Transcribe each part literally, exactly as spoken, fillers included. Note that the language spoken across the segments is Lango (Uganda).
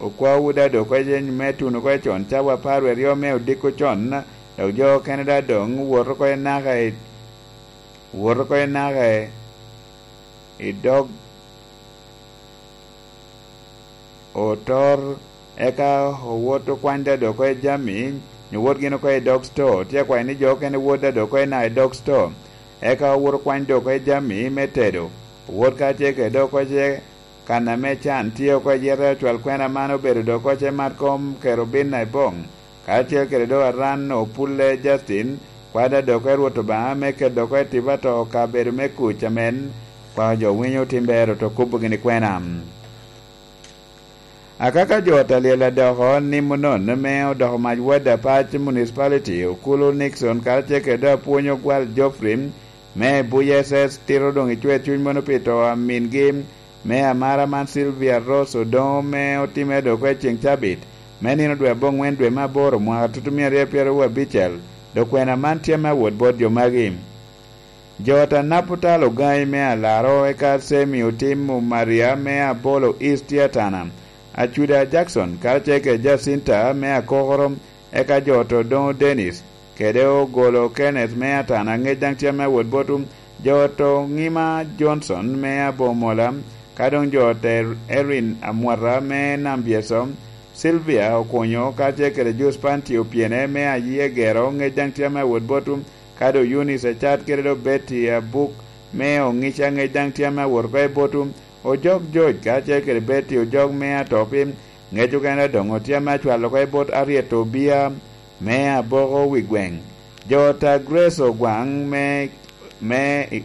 Okwaowu daŋ doŋ oko me tuno oko con, cawa apar wie aryo me odiko con, dok jo okene daŋ doŋ woto oko naka i, woto oko naka i, i dog otor, eka owot okwany daŋ doŋ oko jami, nyo wot gin oko i dog sto, tye akwayo ni jo okene wot daŋ doŋ oko naka i dog sto, eka owot okwany doŋ oko jami me tedo, owot kacel kede doŋ oko ce kan ame can tye oko i yete. Ocwal kwena man obedo doŋ oko ce mat kom kerubin i boŋ, karacel kede doŋ aran opulle Justin, kwada doŋ oko i Rwot Obaŋa me keto doŋ oko i tipa to kabedo me kuc amen, kwa jo winyo otim ber oto kubo gini kwena. Akaka jo ot alyel adoko nimo nono me odoko mac wad apac municipality Okulu Nixon karacel kede doŋ apwony ogwal Geoffrey me Buya S S tito doŋ icwer cuny mono pi to a mingi me amara man Sylvia Rose Odongo me otimme doŋ oko i ceŋ cabit me nino dwe aboŋwen dwe me aboro mwaka tutumia aryo pyeraryo abicel, dok kwena man tye me awot bot jo magi. Jo ot anap otalo ogangi me alaro eka Semi Otim Maria me Abolo East tye atana, Acuda Jackson karacel kede Jacinta me Akokoro, eka jo ot Odongo Dennis kede Ogolo Kenneth me atana ŋec daŋ tye me awot bot jo ot Oŋima Johnson me Abomola, ka doŋ jo ot Erin Amwata me Nambyeso, Sylvia Okunyo karacel kede Jus Panti Opyene me Ayegero ŋec daŋ tye me awot bot ka doŋ Eunice Acat kede doŋ Betty Abuk me Oŋica ŋec daŋ tye ame awot oko i bot Ojok Joc karacel kede Betty Ojok me Atopi, ŋec okene doŋ tye ame acwalo oko i bot Aryet Obia me Aboko wi gweŋ, jo ta Grace Ogwaŋ me, me i,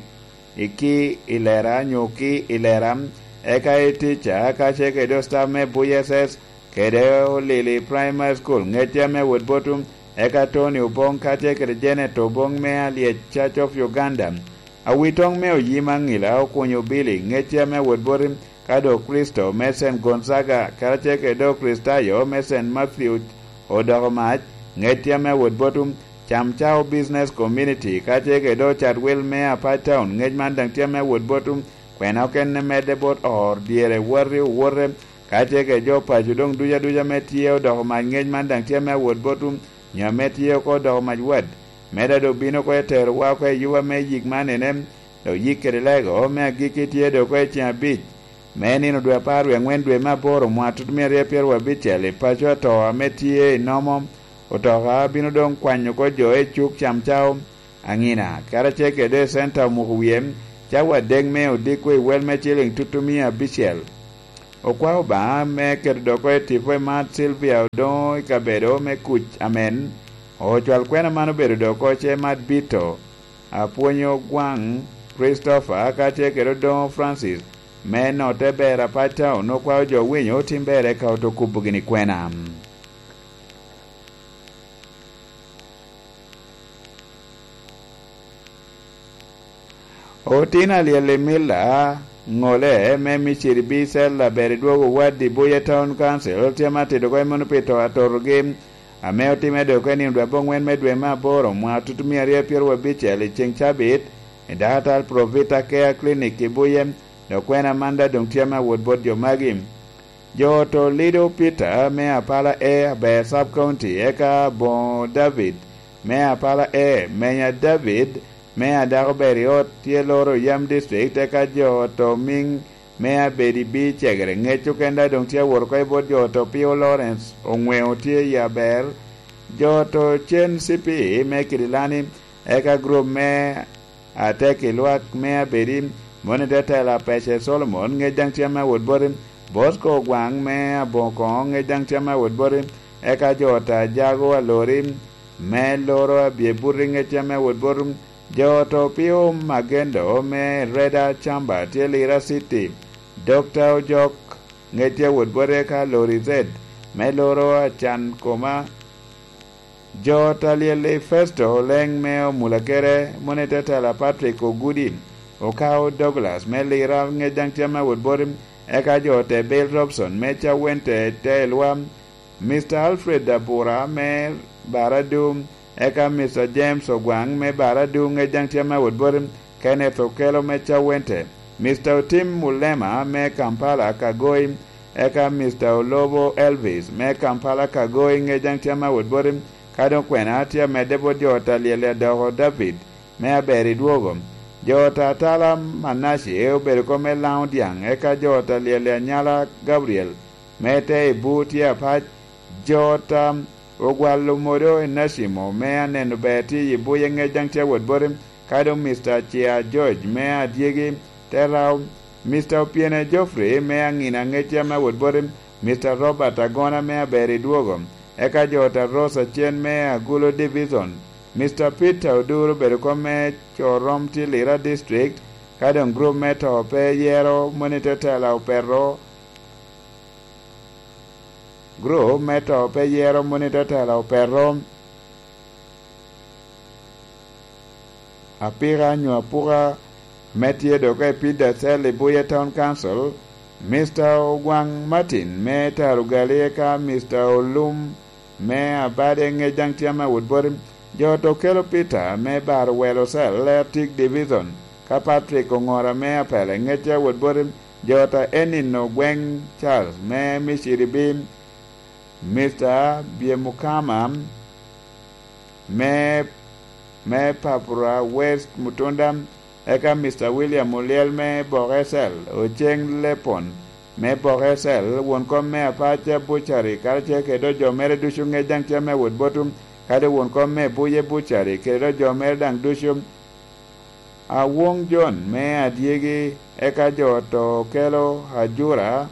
i ki i lera nyo ki i lera, eka i tica karacel kede doŋ staff me Buya S S kede Olili Primary School, ŋec tye ame awot bot eka Tony Oboŋ karacel kede Janet Oboŋ me Alyec Church of Uganda, Awitoŋ me Oyima Ŋila Okunyo Billy, ŋec tye ame awot bot ka doŋ Kricito me Saint Gonzaga, karacel kede doŋ Kricitayo me Saint Matthew odoko mac, ŋec tye ame awot bot Camcao Business Community, karacel kede doŋ Chatwil me Apac Town, ŋec man daŋ tye ame awot bot kwena okene medde bot or dyere wati owote, karacel kede jo paco doŋ duc aduca ame tye odoko mac ŋec man daŋ tye ame awot bot nyo ame tye oko odoko mac wad, me daŋ doŋ bino oko eterowa oko i yuba me yik man ene, dok yik kede lego me agikki tye doŋ oko i ceŋ abic me nino dwe apar wie aŋwen dwe me aboro mwaka tutumia aryo pyeraryo abicel i paco ato ame tye i Nomo. Otoka bino doŋ kwanyo oko jo i cuk Camcao, Aŋina, karacel kede doŋ i Centa Omuko Wie, cawa adek me odiko i wel me ciliŋ tutumia abicel. Okwao Obaŋa me keto doŋ oko i tipo i mat Sylvia Odongo i kabedo me kuc amen. Ocwal kwena man obedo doŋ oko ce mat Bito, Apwonyo Gwaŋ, Christopher, karacel kede Odongo Francis, me notte ber apac town, okwao jo winyo otim ber eka oto kubo gini kwena. Otin alyel i Milla, ŋole me Miciri Bicel aber i dwogo wadi Buya Town Council tye ma tito oko i mono pi to atotogi, ame otimme dok i nino dwe aboŋwen me dwe me aboro mwaka tutumia aryo pyeraryo abicel i ceŋ cabit, i dakatal Provita Care Clinic i Buye, dok kwena man daŋ doŋ tye me awot bot jo magi. Jo oto Lido Peter me Apala A aber Sub County, eka Aboŋo David me Apala A, Menya David me Adako ber i ot tye loro yam district, eka jo oto Miŋ me Abedi B Cegere, ŋec okenda doŋ tye awot oko i bot jo oto Pio Lawrence Oŋweo tye i aber, jo oto Cen Cipi me Kidilani, eka group me Atek i lwak me Abedi, moni te tela Pece Solomon, ŋec daŋ tye ame awot boti, Bosco Ogwaŋ me Aboŋo Koŋo, ŋec daŋ tye ame awot boti, eka jo ot Ajago Alori me Loro Abye Buti, ŋec tye ame awot boti, jo ot Opio Magendo me Reda Camba tye Lira City, Dokta Ojok, ŋec tye awot boti, eka Lori Zed me Loro Acan Koma, Jo ot alyel i Festo Oleŋ me Omulakere, moni te tela Patrick Ogudi, Okao Douglas me Lira, ŋec daŋ tye ame awot boti, eka jo ote Bill Robson me Cawente te Elwa, Mister Alfred Abura me Baradu, eka Mister James Ogwaŋ me Baradu, ŋec daŋ tye ame awot boti, Kenneth Okelo me Cawente, Mister Otim Mulema me Kampala Kagoi, eka Mister Olobo Elvis me Kampala Kago i ŋec daŋ tye ame awot boti, ka doŋ kwena tye amedde bot jo ot a Lyel Adoko David me Aber i Dwogo. Jo ot a Tala Manace obedo kop me Laŋo Dyaŋ, eka jo ot a Lyel Anyala Gabriel me Te i Bur tye apac. Jo ot a Ogwalo Modo Enacimo me Aneno Ber tye i Buye ŋec daŋ tye awot boti, ka doŋ Mister Cia George me Adyegi te Rao, Mister Opiene Geoffrey me Aŋina ŋec ame awot boti, Mister Robert Agona me Aber i Dwogo, eka jo ot a Rose Acen me Agulo Division, Mister Peter Oduro obedo kom me Corom tye Lira District, ka doŋ gurup me to pe yero moni te tela opeto, gurup me to pe yero moni te tela opeto. Apika nyo apuka me tye dok i Peter Cell i Buye Town Council, Mister Ogwaŋ Martin me Tarugali eka Mister Olum me Abade ŋec daŋ tye ame awot boti. Jo ot okelo Peter me Baro Welo Cell, Leotic Division, ka Patrick Oŋora me Apele ŋec tye awot boti. Jo ot a Enino Gweŋ Charles me Miciri Bim, Mister Byemukama me, me Papura West Mutunda, eka Mister William Olyel me Bok Ecel, Oceng Lepon me Bok Ecel, won kom me Apaca Bucari, karacel kede dok jo mere ducu ŋec daŋ tye ame awot botu, kadi won kom me Buye Bucari, kede dok jo mere daŋ ducu. Awong John me Adyegi, eka jo ot a Okelo Ajura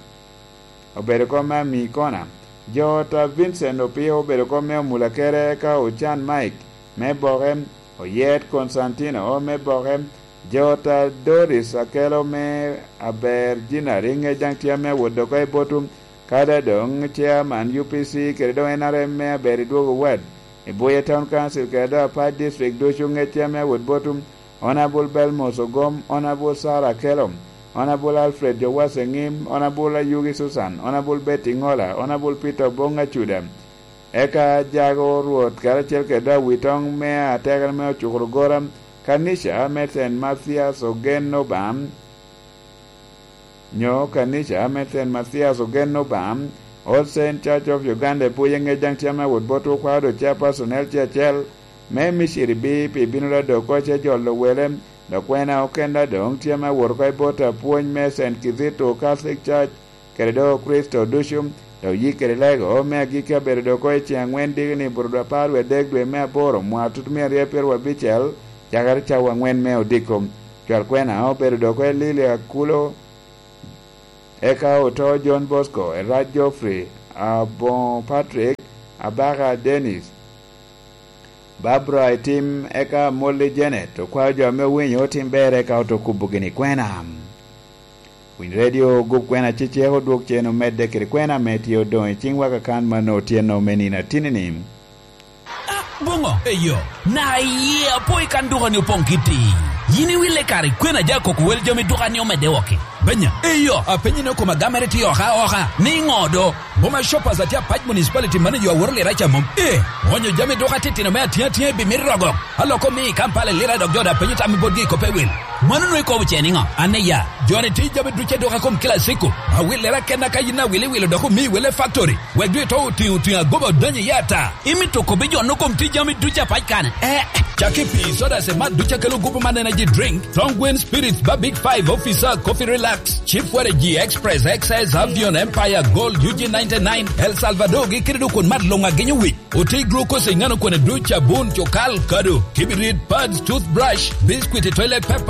obedo kom me Amikona. Jo ot a Vincent Opio obedo kom me Omulakere, eka Ocan Mike me Boke, Oyet Constantino me Boke. Jo ot a Doris Akelo me Aber Jinari ŋec daŋ tye ame awot oko i botu, kadi doŋ chairman U P C kede doŋ N R M me Aber i Dwogo Ward, i Buye Town Council kede doŋ Apac District ducu ŋec tye ame awot botu. Honourable Belmos Ogom, Honourable Sarah Akello, Honourable Alfred Jowase Ŋim, Honourable Ayugi Susan, Honourable Betty Ŋola, Honourable Peter Obong Acuda, eka Jago Rwot karacel kede Awitoŋ me Atekere me Ocukuro Gora, kanica me Saint Mathias Ogen Obam, nyo kanica me Saint Mathias Ogen Obam, All Saint Church of Uganda i Buye ŋec daŋ tye ame awot bot okwao dok chairperson L C acel, me Miciri B P bino dok oko ce jolo wele, dok kwena okenda doŋ tye ame awot oko i bot apwony me Saint Kizito Catholic Church, kede dok Kricito ducu, dok yik kede lego me agikki abedo dok oko i ceŋ aŋwen diki ni buto apar wie adek dwe me aboro mwa tut mia aryo pyeraryo abicel, cakere cawa aŋwen me odiko. Cwal kwena obedo dok oko i Lili Akulo, eka oto John Bosco, Erac Geoffrey, Aboŋo Patrick, Abaka Dennis, Barbara Etim, eka Molly Janet, okwayo jo ame owinyo otim ber, eka oto kubogi ni kwena. Winy redio ogup kwena cecek odwog cen omedde kede kwena ame tye odoŋ i ciŋwa kakan mano otyeno me nino atinini. Ah, boŋo? Eyo, na iye apo i kan dukani opoŋ kiti. Yin iwille kare kwena ja koko wel jami dukani omedde wok-ki. Benya, eyo, apenyi ni okoma gamere tye oka oka, ni ŋo do? Boma Shoppers atye apac municipality manager aworo lira ca mom. Eh, onyo jami duka titino me atiŋ atiŋ i bimito rogo. Aloko mi i Kampala i lira dok jo da penyo tammi botgi i kope wil. Mano nwe ikobo ce niŋo? An iya, joni ti jami duce duka kom kila siko. Awil lira kenna ka yin awili wilo dok omi wele factory. Wek dwe to otiŋ otiŋ agoba odonyo i ata. Imito kobi jo no kom ti jami duce apac kane? Eh. Caki pi soda se mat duce kelo gupu man energy drink. Tonguin Spirits ba Big Five Officer Coffee Relax. Chief Waragi Express X S Avion Empire Gold U G ninety-nine El Salvador gi kede dok kun mat luŋ agenyo wic. Oti glucose i ŋano kone duc abun cukal kado. Kibirit pads toothbrush. Biscuit toilet paper.